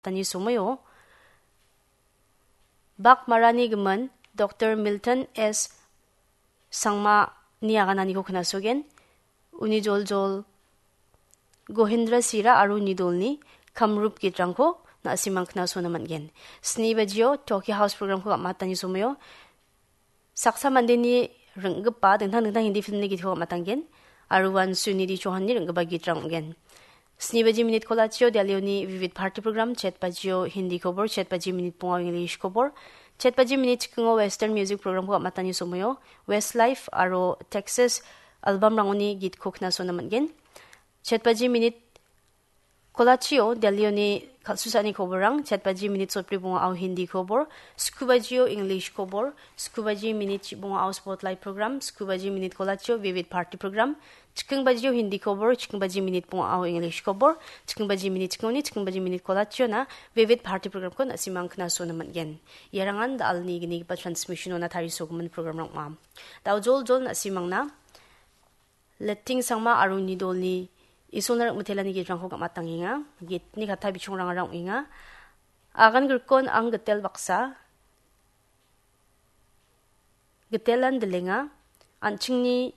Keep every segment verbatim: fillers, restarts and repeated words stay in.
matani somoio bak marani gimin Doktor Milton S Sangmani agananiko knasogen. Uni joljol Gohindra Sira aro uni dolni Kamrup gitrangko na·simang knasona man·gen. Sni bajio Tokyo House programko gam·atani somoio saksa mandeni ring·gipa dingtang dingtang Hindi filmni gitko gam·atanggen. Aro uan Sunidhi Chauhanni ring·gipa gitrang ong·gen. Sni baji minit kolachio Delhioni Vivid Bharati program, chet bajio Hindi kobor, chet baji minit bonga English kobor, chet baji minit chikingo Western music programko gam·atani somoio Westlife aro Texas albumrangoni gitko knasona man·gen. Chet baji minit kolachio Delhioni kal·susani koborrang, chet baji minit sotbri bonga ao Hindi kobor, sku bajio English kobor, sku baji minit chibonga ao Spotlight program, sku baji minit kolachio Vivid Bharati program, chiking bajio Hindi kobor, chiking baji minit bonga ao English kobor, chiking baji minit chikingoni, chiking baji minit kolachiona Vivid Bharati programko na·simang knasona man·gen. Iarangan da·alni gnigipa transmissionona tarisogimin programrang ong·a. Da·o joljol na·simangna Letting Sangma aro uni dolni Isolna rik·mitelani gitrangko gam·atangenga. Gitni katta bichongrangara ong·enga. Agan grikon ang gitel baksa, gitelan dilenga, an·chingni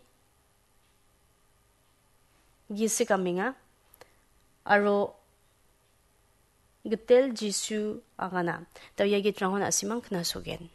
gisik amenga, aro gitel Jisu agana. Da·o ia gitrangko na·simang knasogen.